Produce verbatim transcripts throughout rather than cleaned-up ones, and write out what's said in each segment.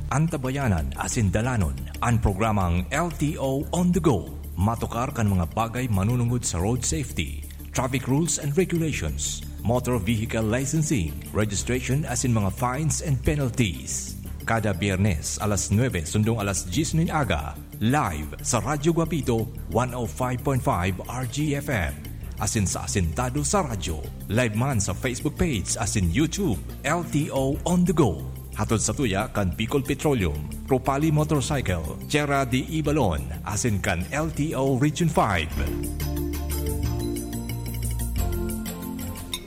Antabayanan asin dalanon an programang L T O On The Go. Matukar kan mga bagay manunungod sa road safety, traffic rules and regulations, motor vehicle licensing, registration asin mga fines and penalties. Kada Biyernes, alas nuebe sundong alas dyes nin aga, live sa Radyo Guapito, one oh five point five R G F M. Asin sa Asintado sa Radyo. Live man sa Facebook page asin YouTube, L T O On The Go. Hatod sa tuya kan Bicol Petroleum, Propali Motorcycle, Tierra de Ibalon, asin kan L T O Region five.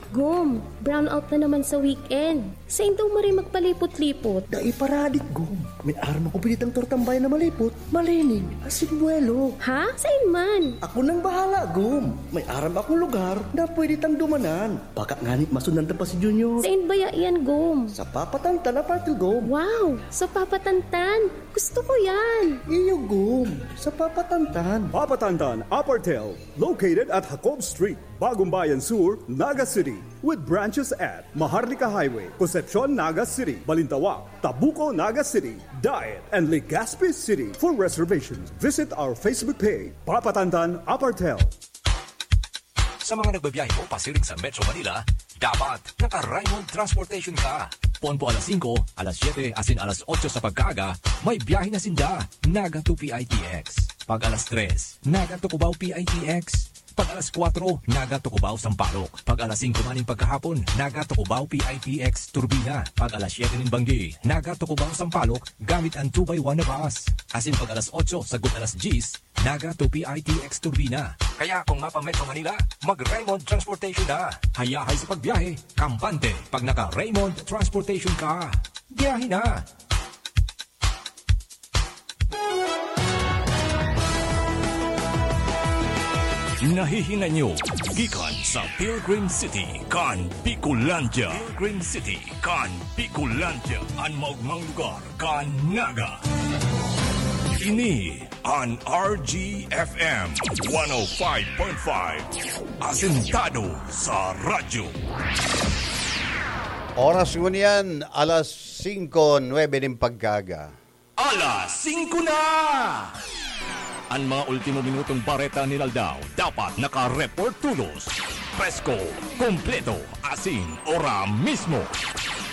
Gom, brownout na naman sa weekend. Sain daw maray magpalipot-lipot? Dai paradik, Gom. May aram akong pinitang tortang bayan na malipot, malinig, asin buwelo. Ha? Sain man? Ako nang bahala, Gom. May aram akong lugar na pwede tang dumanan. Baka ngani masundan ta pa si Junior. Sain baya iyan, Gom? Sa Papatantan, Apartel, Gom. Wow! Sa Papatantan! Gusto ko yan! Iyo, Gom. Sa Papatantan. Papatantan, Apartel, located at Jacob Street, Bagumbayan Sur, Naga City, with branches at Maharlika Highway, Concepcion, Naga City, Balintawak, Tabuco, Naga City, Daet, and Legazpi City. For reservations, visit our Facebook page, Papatantan Apartel. Sa mga nagbabiyahe po pasiring sa Metro Manila, dapat naka-Raymond Transportation ka. Poon po alas singko, alas siyete, asin alas otso sa pagkaaga, may biyahe na sinda, Naga to P I T X. Pag alas tres, Naga to Cubao P I T X. Pag alas kwatro, Naga to Cubao Sampaloc. Pag alas singko man nin pagkahapon, Naga to Cubao P I T X Turbina. Pag alas siyete nin banggi, Naga to Cubao Sampaloc, gamit an two by one na bus. Asin pag alas otso sagkod alas dyes, Naga to P I T X Turbina. Kaya kung mapa-Metro Manila, mag-Raymond Transportation na. Hayahay sa pagbiyahe, kampante pag naka-Raymond Transportation ka. Biyahe na! Nahihinay nyo gikan sa Pilgrim City kan Bicolandia. Pilgrim City kan Bicolandia, an maogmang lugar kan Naga. Ini an R G F M one oh five point five, asentado sa radyo. Oras ngunyan, alas singko nuebe nin pagkaaga. Alas singko na! An mga ultimo minutong bareta nin aldaw dapat naka-report tolos. Presko, kompleto, asin ora mismo.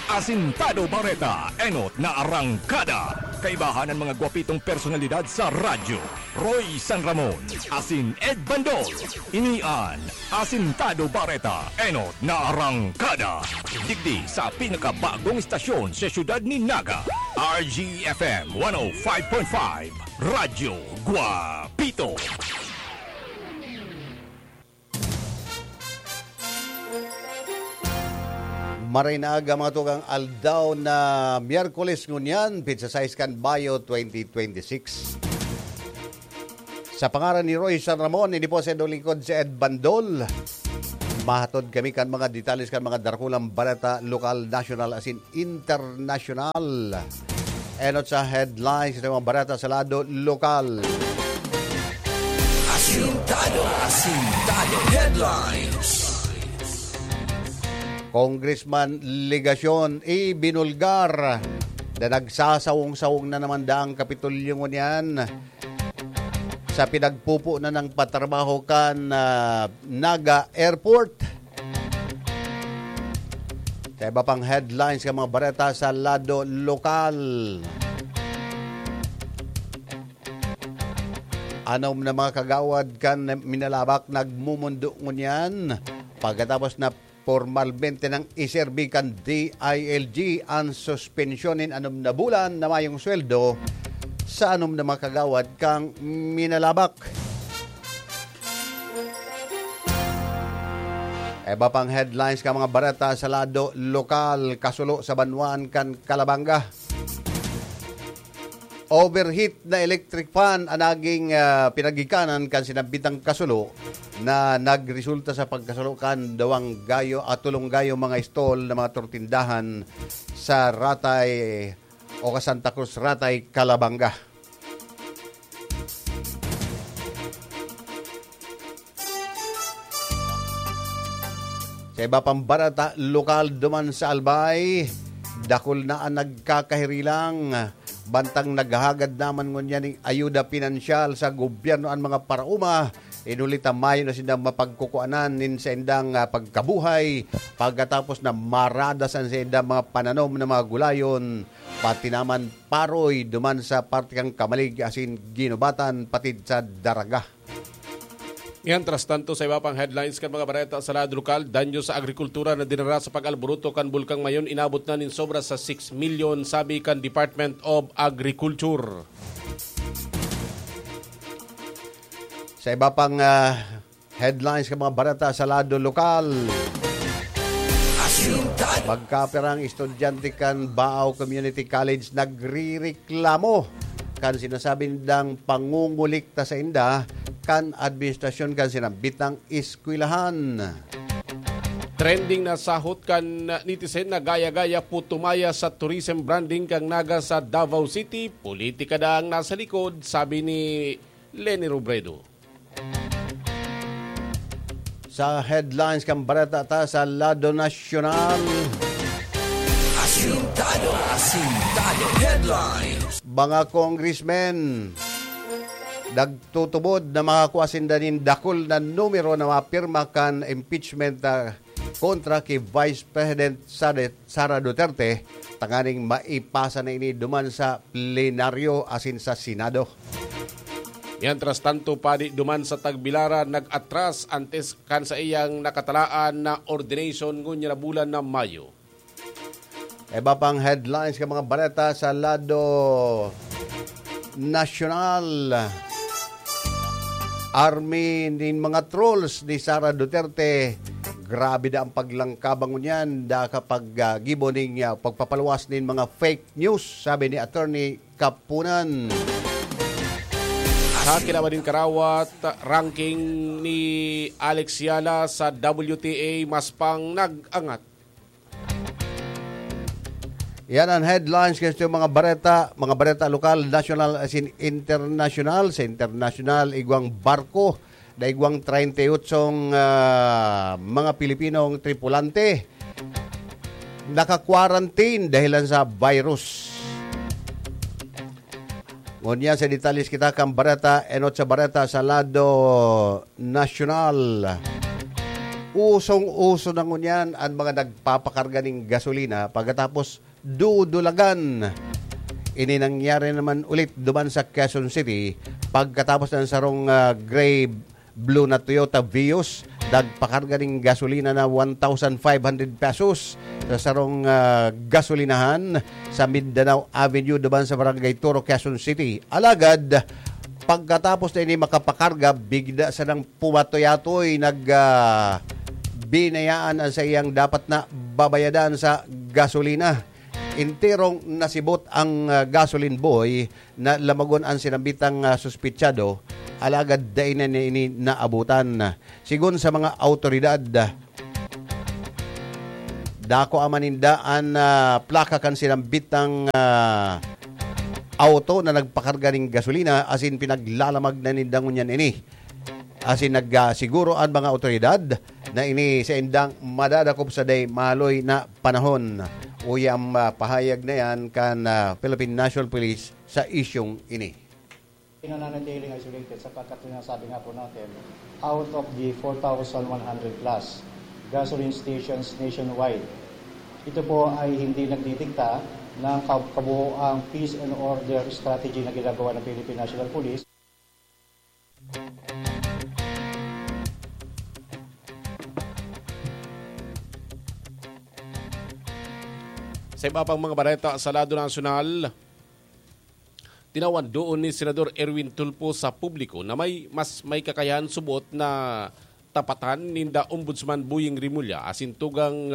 Asintado Bareta, enot na arangkada. Kaibahan an mga gwapitong personalidad sa radyo. Roy San Ramon, asin Ed Bandol. Ini an Asintado Bareta, enot na arangkada. Digdi sa pinakabagong istasyon sa siyudad nin Naga, R G F M one oh five point five, Radyo Guapito. Maray na aga, mga tugang, aldaw na Miyerkules ngunyan, petsa sais kan Bayo, twenty twenty-six. Sa pangaran ni Roy San Ramon, ini po sa inyong lingkod si Ed Bandol. Mahatod kami kan mga detalles kan mga darakulang bareta, lokal, nasyonal, asin internasyonal. Enot sa headlines sa mga bareta sa lado lokal. Asintado, Asintado Headlines. Congressman Legacion ibinulgar na nagsasawong-sawong na naman daang Kapitolyo ngunyan sa pinagpupo na ng patrabaho kan, ah, Naga Airport. Sa iba pang headlines kan mga bareta sa lado lokal, anom na mga kagawad kan Minalabac nagmumundo ngunyan pagkatapos na pormalmente nang iserbi kan D I L G an suspensyon nin anom na bulan na mayong sweldo sa anom na mga kagawad kan Minalabac. Iba pang headlines kan mga bareta sa lado lokal, kasulo sa banwaan kan Calabanga. Overheat na electric fan an naging, ah, pinagikanan kan sinambitang kasulo na nagresulta sa pagkasulo kan duwang gayo at tolong gayo mga stall na mga tortindahan sa Ratay o ka Santa Cruz, Ratay, Calabanga. Sa iba pang bareta lokal duman sa Albay, dakul na an nagkakahirilang Bantang naghahagad naman ngunyan ning ayuda pinansyal sa gobyerno an mga paraoma, inuli ta mayo na sindang mapagkukuanan nin saindang, ah, pagkabuhay pagkatapos na maradas an saindang mga pananom na mga gulayon, pati naman paroy duman sa parte kan Camalig asin Guinobatan patid sa Daraga. Mientras tanto, sa iba pang headlines kan mga bareta sa lado lokal, danyo sa agrikultura na dinara sa pag-alboroto kan Bulkang Mayon inabot na nin sobra sa six milyon, sabi kan Department of Agriculture. Sa iba pang, ah, headlines kan mga bareta sa lado lokal, Asintado. Magkapirang estudyante kan Baao Community College nagrireklamo kan sinasabi nindang pangungulikta sa inda kan administrasyon kan sinambitang eskwelahan. Trending na sahot kan netizen na gaya-gaya po tumaya sa tourism branding kan Naga sa Davao City, politika daang nasa likod, sabi ni Leni Robredo. Sa headlines kan bareta ta sa lado nasyonal, Asintado, Asintado Headlines. Mga congressmen nagtutubod na makakua sinda nin dakul na numero na mapirma kan impeachment, ah, kontra ki Vice President Sara, Sara Duterte, tanganing maipasa na ini duman sa plenaryo asin sa Senado. Mientras tanto, padi duman sa Tagbilaran nag-atras antes kan saiyang nakatalaan na ordination ngunyan na bulan na Mayo. Iba pang headlines kan mga bareta sa lado nasyonal. Army nin mga trolls ni Sara Duterte. Grabe na ang paglangkabang ngunyan, da kapag, ah, gibo ning, ah, pagpapaluwas nin mga fake news, sabi ni Attorney Kapunan. Sa kinaban nin karawat, ranking ni Alex Yala sa W T A mas pang nag-angat. Yan ang headlines kan mga bareta, mga bareta lokal, nasyonal, asin internasyonal. Sa internasyonal, igwang barko na igwang treinta y ocho, ah, mga Pilipinong tripulante naka-quarantine dahilan sa virus. Ngunyan sa detalles kita kan bareta, enot sa bareta sa lado nasyonal. Usong-uso na ngunyan an mga nagpapakarga nin gasolina pagkatapos dudulagan. Ini nangyari naman ulit duman sa Quezon City pagkatapos ng sarong, ah, gray blue na Toyota Vios, nagpakarga nin gasolina na one thousand five hundred pesos sa sarong, ah, gasolinahan sa Mindanao Avenue duman sa Barangay Toro, Quezon City. Alagad, pagkatapos na ini makapakarga, bigla sanang pumatuyatoy, nag, ah, binayaan ang saiyang dapat na babayadan sa gasolina. Enterong nasibot ang, ah, gasoline boy na lamagon an sinambitang, ah, suspetsado, alagad dai na niya ini naabutan. Sigon sa mga awtoridad, dakua man ninda an, ah, plaka kan sinambitang, ah, auto na nagpakarga nin gasolina asin pinaglalamag na ninda ngunyan ini. Asin nagsiguro an mga awtoridad na ini saindang madadakop sa dai maaloy na panahon. Uya ang, ah, pahayag na yan kan, ah, Philippine National Police sa isyung ini. Pinananatiling isolated sapagkat yung nasabi nga po natin, out of the four thousand one hundred plus gasoline stations nationwide, ito po ay hindi nagdidikta ng kab-, kabuoang peace and order strategy na ginagawa ng Philippine National Police. Sa iba pang mga bareta sa lado nasyonal, tinawan doon ni Senador Erwin Tulfo sa publiko na may, mas may kakayahan subot na tapatan ninda Ombudsman Boying Remulla asin tugang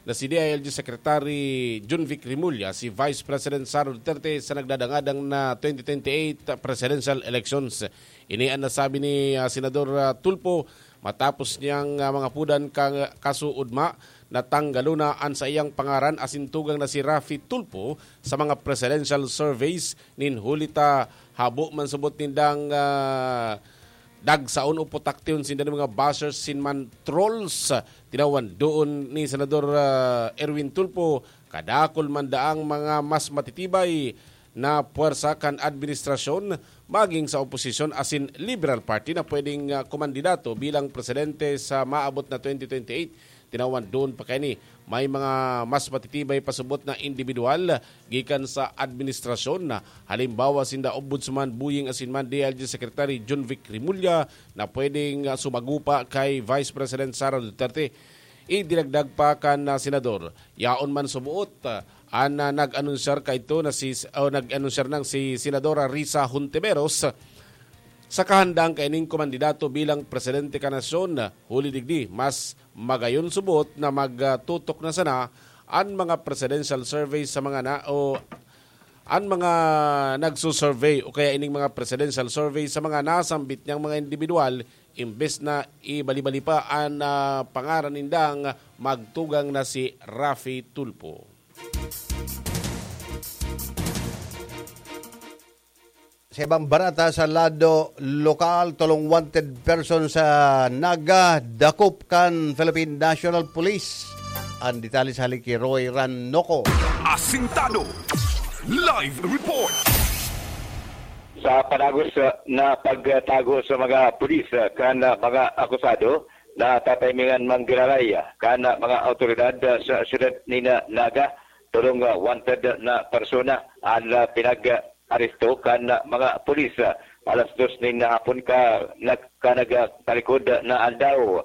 na si D I L G Secretary Jonvic Remulla si Vice President Sara Duterte sa nagdadangadang na twenty twenty-eight presidential elections. Ini an nasabi ni, ah, Senador, ah, Tulfo matapos niyang, ah, mangapodan ka, kasuodma na tanggalon na an saiyang pangaran asin tugang na si Raffy Tulfo sa mga presidential surveys nin huli ta habo man subot nindang, ah, dagsaon o putaktion sinda nin mga bashers sin man trolls. Tinawan doon ni Senador, ah, Erwin Tulfo, kadakul man daang mga mas matitibay na puwersa kan administrasyon maging sa oposisyon asin Liberal Party na pwedeng, ah, kumandidato bilang presidente sa maabot na twenty twenty-eight. Tinawan doon pa kaini, may mga mas matitibay pasubot na individual gikan sa administrasyon na halimbawa sinda Ombudsman Boying Asinman, D I L G Secretary John Vic Remulla na pwedeng, ah, sumagupa kay Vice President Sara Duterte. Idinagdag pa kan, ah, senador, yaon man sumuot, ah, an, ah, nag-anunsyar kaidto na si, o nag-anunsyar nang si Senadora Risa Hontiveros sa kahandang kaining kumandidato bilang presidente kan nasyon. Huli digdi, mas magayon subot na magtutok na sana an mga presidential survey sa mga na, o an mga nagsusurvey o kaya ining mga presidential survey sa mga nasambit niyang mga individual, imbes na ibali-bali pa an, ah, pangaran nindang magtugang na si Raffy Tulfo. Sa ibang barata sa lado lokal, tolong wanted person sa Naga, dakop kan Philippine National Police. An detalye sa hali ki Roy Ranoco. Asintado. Live report. Sa panagos, uh, na pagtago sa mga pulis, uh, kan, uh, mga akusado, natataymingan manggiraray, uh, kan, uh, mga awtoridad, uh, sa siyudad nin, uh, Naga, tolong, uh, wanted na persona an, uh, pinag-aresto kan, uh, mga pulis, uh, alas dos nin hapon ka, nag-, ka nagtalikod na aldaw.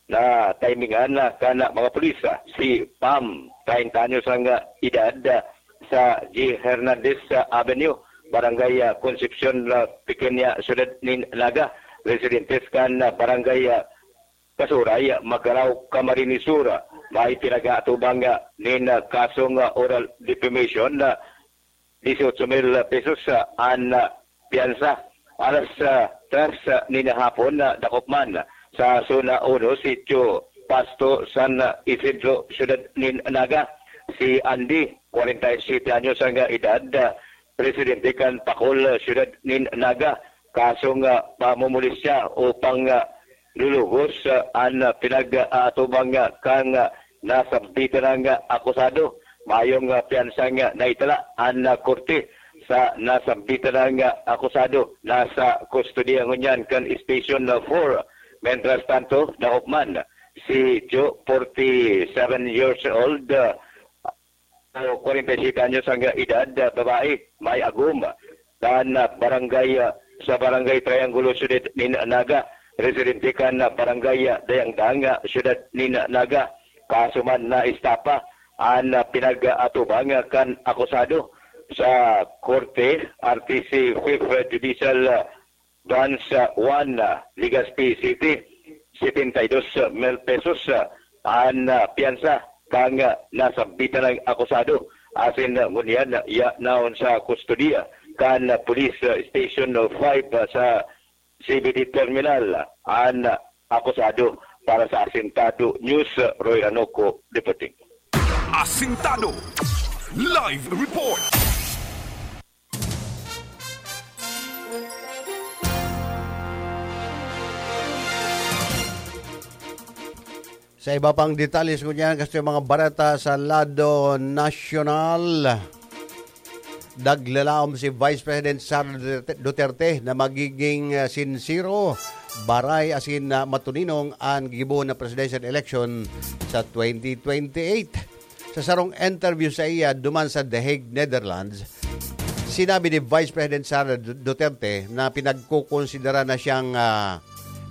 Nataymingan kan mga pulis si Pam, treinta anyos ang edad, sa G Hernandez Avenue, Barangay Concepcion, Pequeña Ciudad nin Naga. Residentes kan Barangay Kasuray, Magarao, Camarines Sur, may pinag-aatubang nin kasong oral defamation, dieciocho mil pesos, ah, an, ah, piyansa. Alas, ah, tres, ah, nin hapon, ah, dakop man sa Zona Uno, Sitio Pasto, San Isidro, Siyudad nin Naga, si Andy, kwarenta y siyete anyos ang, ah, edad, ah, residente kan Pacol, ah, Siyudad nin Naga, kasong, ah, pamomolestya o pang, ah, lulugos, ah, an, ah, pinag-aatubang, ah, kan, ah, nasambitan ng, ah, akusado. Mayong, ah, piyansang, ah, naitala an, ah, korte sa nasambitan ng, ah, akusado. Nasa kustodiya ngunyan kan Station, ah, four. Mientras tanto, dakop man si Jo, forty-seven years old, ah, o kwarenta y siyete anyos ang edad, ah, babae, may agom, kan, ah, barangay, ah, sa Barangay Triangulo, Siyudad nin Naga, residente kan, ah, Barangay, ah, Dayangdang, ah, Siyudad nin Naga. Kaso man na estapa an, ah, pinag-aatubang, ah, kan akusado sa korte, R T C Fifth Judicial, ah, Branch, ah, one, ah, Legazpi City, setenta y dos mil pesos, ah, an, ah, piyansa kan, ah, nasambitan ng akusado. Asin, ah, ngunyan, ah, ya naon sa kustodiya kan, ah, Police, ah, Station five, ah, sa C B D Terminal, ah, an, ah, akusado. Para sa Asintado News, ah, Roy Ranoco, reporting. Asintado. Live report. Sa iba pang detalye ngunyan, kasto yung mga bareta sa lado nasyonal, naglalaom si Vice President Sara Duterte, Duterte na magiging, ah, sinsero, baray asin, ah, matuninong an gibo na presidential election sa twenty twenty-eight. Sa sarong interview sa iya duman sa The Hague, Netherlands, sinabi ni Vice President Sara Du-, Duterte na pinagkukonsidera na siyang, ah,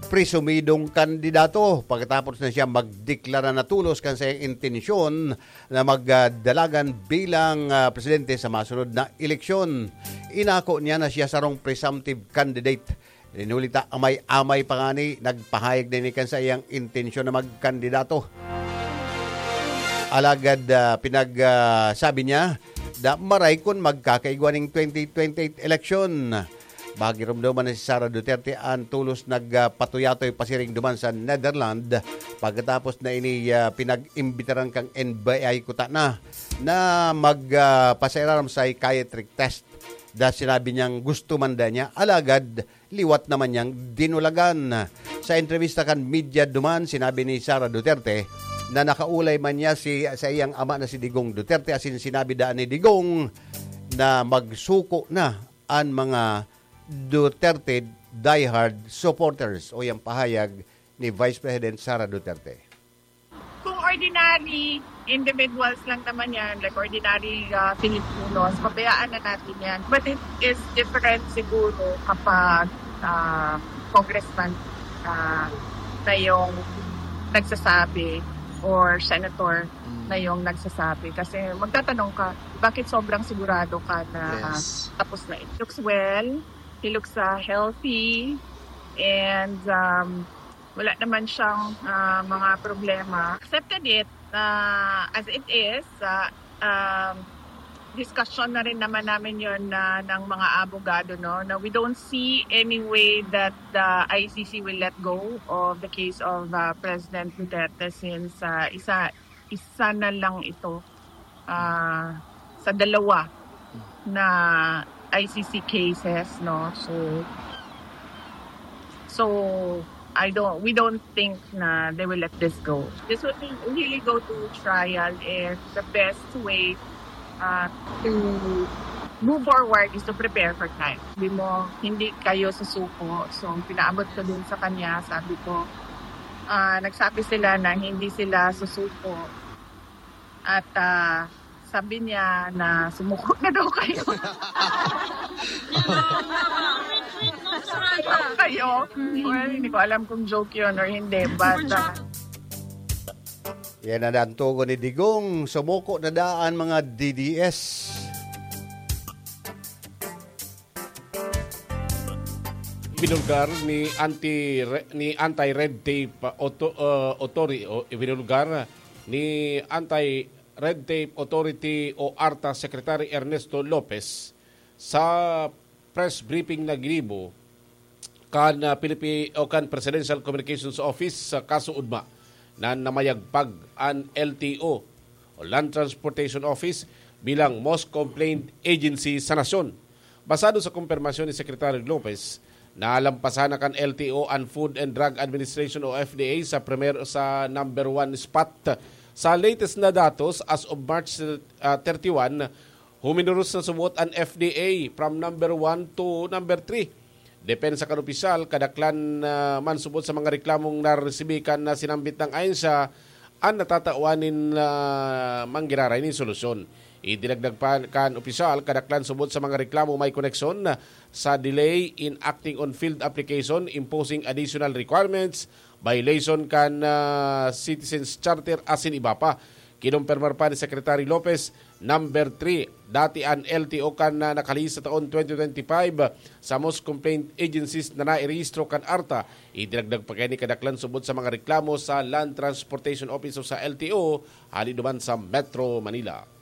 presumidong kandidato pagkatapos na siya magdeklara na tulos kan saiyang intensyon na magdalagan bilang, ah, presidente sa masunod na eleksyon. Inako niya na siya sarong presumptive candidate. Rin huli ta amay-amay pa ngani, nagpahayag na ini kan saiyang intensyon na magkandidato. Alagad, ah, pinag, ah, sabi niya na maray kun magkakaigwa ning twenty twenty-eight election. Magiromdoman na si Sara Duterte an tulos nagpatuyatoy pasiring duman sa Netherlands. Pagkatapos na ini, ah, pinag-imbitaran kan N B I kuta na, na mag, ah, pasairarom sa psychiatric test. Da sinabi niyang gusto man da niya, alagad liwat naman niyang dinulagan. Sa entrevista kan media duman, sinabi ni Sara Duterte na nakaulay man niya si, sa iyang ama na si Digong Duterte, asin sinabi daan ni Digong na magsuko na an mga Duterte diehard supporters, o yang pahayag ni Vice President Sara Duterte. Kung ordinary individuals lang naman yan, like ordinary uh, Filipinos, pabayaan na natin yan. But it is different siguro kapag uh, congressman uh, na yung nagsasabi or senator mm. na yung nagsasabi. Kasi magtatanong ka, bakit sobrang sigurado ka na yes. tapos na ito? Looks well, he looks uh, healthy, and um, wala naman siyang uh, mga problema. Accepted it uh, as it is. Uh, um, discussion na rin naman namin yon na ng mga abogado, no, na we don't see any way that the I C C will let go of the case of uh, President Duterte since uh, isa isa na lang ito uh, sa dalawa na I C C cases, no. So so I don't we don't think na they will let this go. This will really go to trial if the best way uh, to move forward is to prepare for time. Hindi mo, hindi kayo susuko. So, pinaabot ko din sa kanya, sabi ko, uh, nagsabi sila na hindi sila susuko. At uh, sabi niya na sumuko na daw kayo. kayo. Well, hindi ko alam kung joke yun or hindi. But, uh, Yan na ang tugon ni Digong. Sumuko na daan mga D D S. Binulgar ni anti ni anti-red tape uh, auto, uh, authority o ibinulgar ni anti-red tape authority o ARTA Secretary Ernesto Lopez sa press briefing na ginibo kan uh, Philippi o kan Presidential Communications Office sa kaso ugma na namayagpag an L T O o Land Transportation Office bilang most complained agency sa nasyon. Basado sa kumpirmasyon ni Secretary Lopez, nalampasan na kan L T O an Food and Drug Administration o F D A sa primer sa number one spot. Sa latest na datos, as of March uh, thirty-one, huminuros na subot an F D A from number one to number three. Depensa kan opisyal, kadaklan uh, man subot sa mga reklamong naresibi kan na sinambit ng ahensya an natatawan nin uh, manggiraray nin solusyon. Idinagdag pa kan opisyal, kadaklan subot sa mga reklamo may koneksyon sa delay in acting on field application, imposing additional requirements, violation kan uh, Citizens Charter asin iba pa. Kinumpirmar pa ni Secretary Lopez, number three, dati an L T O kan uh, nakalihis sa taon twenty twenty-five sa most complaint agencies na nairehistro kan ARTA. Idinagdag pa kini kadaklan subot sa mga reklamo sa Land Transportation Office o sa L T O hali duman sa Metro Manila.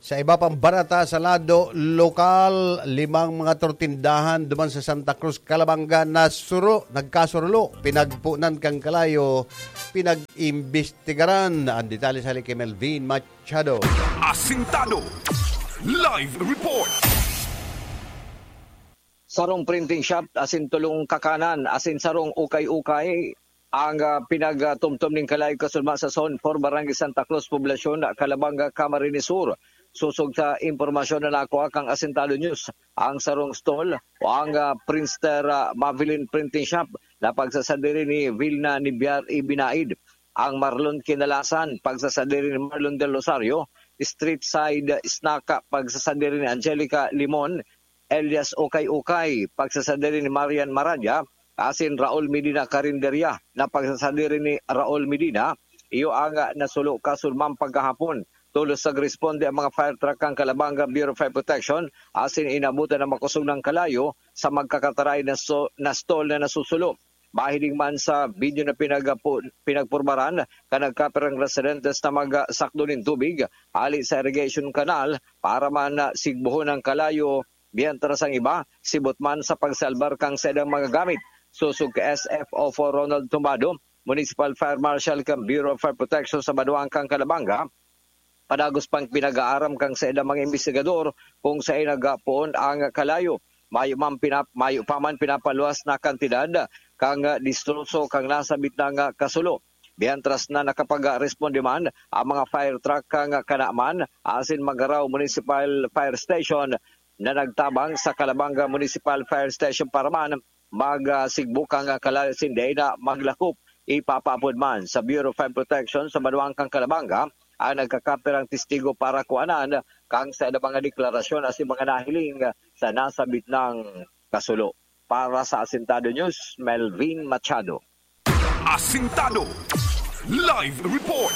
Sa iba pang barata sa lado lokal, limang mga tortindahan duman sa Santa Cruz, Calabanga nasuro, nagkasurulo, pinagpunan kan kalayo, pinag-imbestigaran. Ang detalye sa hali kay Melvin Machado. Asintado Live Report. Sarong printing shop asin tulong kakanan asin sarong ukay-ukay ang uh, pinagtumtom ning kalayo kasulma sa Zone four, Barangay Santa Cruz, Poblacion, Calabanga, Camarines Sur. Sosog sa impormasyon na nakuha kang Asintado News, ang sarong stall o ang uh, Prinster uh, Mavilin Printing Shop na pagsasadiri ni Vilna Nibiar Ibinaid, ang Marlon Kinalasan, pagsasadiri ni Marlon Del Rosario, Street Side Snack, pagsasadiri ni Angelica Limon, Elias Ukay-Ukay, pagsasadiri ni Marian Maradia, asin Raul Medina Carinderia na pagsasadiri ni Raul Medina, iyo ang nasulo kasulman pagkahapon. Tolos nagresponde ang mga fire truck kan Calabanga Bureau of Fire Protection asin inabutan ang makosog ng kalayo sa magkakataray na, so, na stall na nasusulo. Mahiling man sa video na pinagpo, pinagpurbaran kan nagkapirang residentes na magsakdo nin tubig hali sa irrigation canal para man sigbuhon ang kalayo, mientras ang iba sibot man sa pagsalbar kan saindang mga gamit. Sosog ka S F O four Ronald Tumbado, Municipal Fire Marshal kan Bureau of Fire Protection sa banwaan kan Calabanga, padagos pang pinag-aaram kan saindang mga imbestigador kung saen nagpoon ang kalayo. Mayo man pinap, mayo pa man pinapaluwas na kantidad kan distroso kan nasabit na kasulo. Mientras na nakapagresponde man ang mga fire truck kan Canaman asin Magarao Municipal Fire Station na nagtabang sa Calabanga Municipal Fire Station para man magsigbo kan kalasinday na maglakop. Ipapaapod man sa Bureau of Fire Protection sa banwaan kan Calabanga ang nagkakapirang testigo para kuanan kan sa mga deklarasyon asin mga nahiling sa nasabit nang kasulo. Para sa Asintado News, Melvin Machado. Asintado Live Report.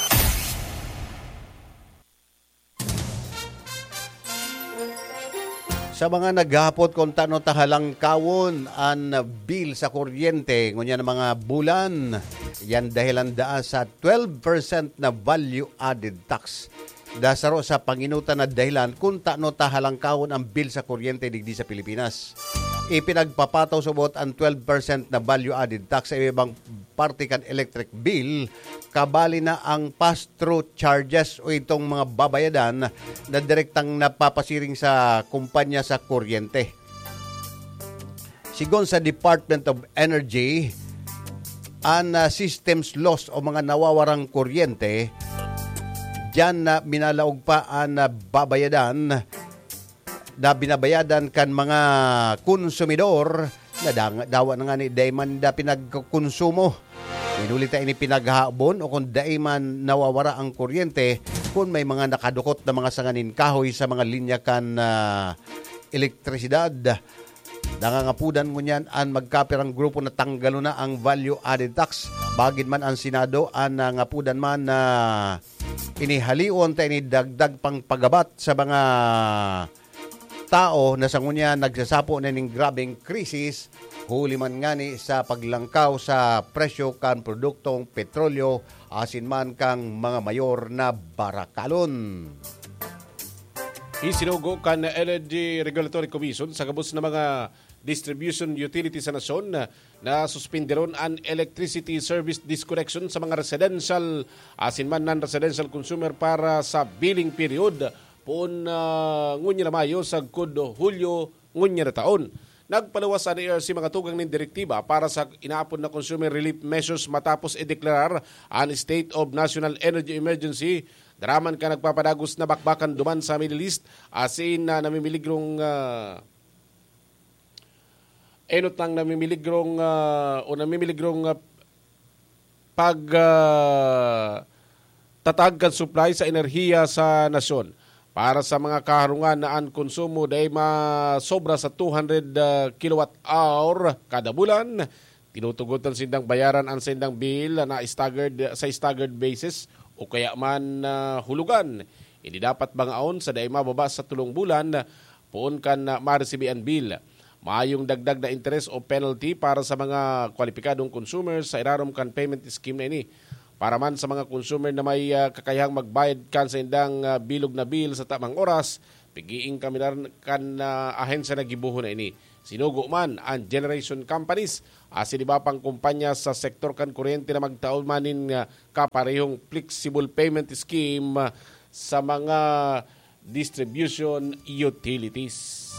Sa mga naghahapot kung tano ta halangkawon an bill sa kuryente, ngunyan na mga bulan, yan dahilan daa sa twelve percent na value-added tax. Da saro sa panginutan na dahilan kung tano ta halangkawon ang bill sa kuryente digdi sa Pilipinas. Ipinagpapataw subot ang twelve percent na value-added tax sa ibang parte kan electric bill, kabali na ang pass-through charges o itong mga babayadan na direktang napapasiring sa kumpanya sa kuryente. Sigon sa Department of Energy, an, ah, systems loss o mga nawawarang kuryente, diyan na minalaog pa an, ah, babayadan na binabayadan kan mga konsumidor na dang-, dawa na ngani dai man da pinagkonsumo. Inuli ta ini pinaghahabon o kung dai man nawawara ang kuryente, kun may mga nakadukot na mga sanga nin kahoy sa mga linya kan, ah, elektrisidad. Nangangapudan ngunyan an magkapirang grupo na tanggalon na ang value added tax. Bagid man an Senado, an nangapudan man na inihalion ta ini dagdag pang pagabat sa mga tao na sa ngunyan nagsasapo na ning grabeng krisis, huli man ngani sa paglangkaw sa presyo kan produktong petrolyo asin man kan mga mayor na barakalon. Isinugo kan Energy Regulatory Commission sa gabos na mga distribution utility sa nasyon na suspinderon an electricity service disconnection sa mga residential asin man non-residential consumer para sa billing period poon, ah, ngunyan na Mayo sagkod Hulyo ngunyan na taon. Nagpaluwas an E R C mga tugang nin direktiba para sa inaapod na consumer relief measures matapos ideklarar an state of national energy emergency. Daraman ka nagpapadagos na bakbakan duman sa Middle East asin na namimiligrong, ah, enot nang namimiligrong, ah, o namimiligrong, ah, pag, ah, tatag kan supply sa enerhiya sa nasyon. Para sa mga kaharungan na an konsumo dai masobra sa two hundred, ah, kilowatt hour kada bulan, tinutugotan sindang bayaran an saindang bill na staggered, sa staggered basis o kaya man, ah, hulugan. Ini dapat bangaon sa dai mababa sa tulong bulan poon kan, ah, maresibi an bill. Mayong dagdag na interes o penalty para sa mga kwalipikadong consumer sa irarom kan payment scheme na ini. Para man sa mga consumer na may, ah, kakayahang magbayad kan saindang, ah, bilog na bill sa tamang oras, pigiing kami na kan, ah, ahensya na gibohon na ini. Sinugo man an generation companies asin iba pang kumpanya sa sektor kan kuryente na magtao man nin, ah, kaparehong flexible payment scheme, ah, sa mga distribution utilities.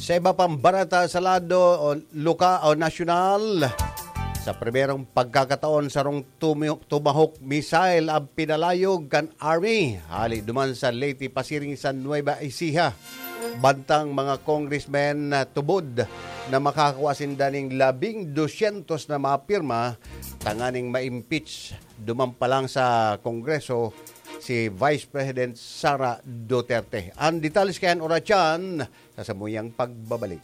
Sa iba pang bareta sa lado o loka-, o nasyonal, sa primerong pagkakataon, sarong tumi-, Tomahawk missile ang pinalayog kan Army hali duman sa Leyte pasiring sa Nueva Ecija. Bantang mga congressmen na tubod na makakakua sinda ning labing dosyentos na mga pirma tanganing ma-impeach duman pa lang sa Kongreso si Vice President Sara Duterte. Ang detalye kayan oratyan sa samuyang pagbabalik.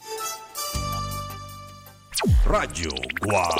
Radyo Guwang.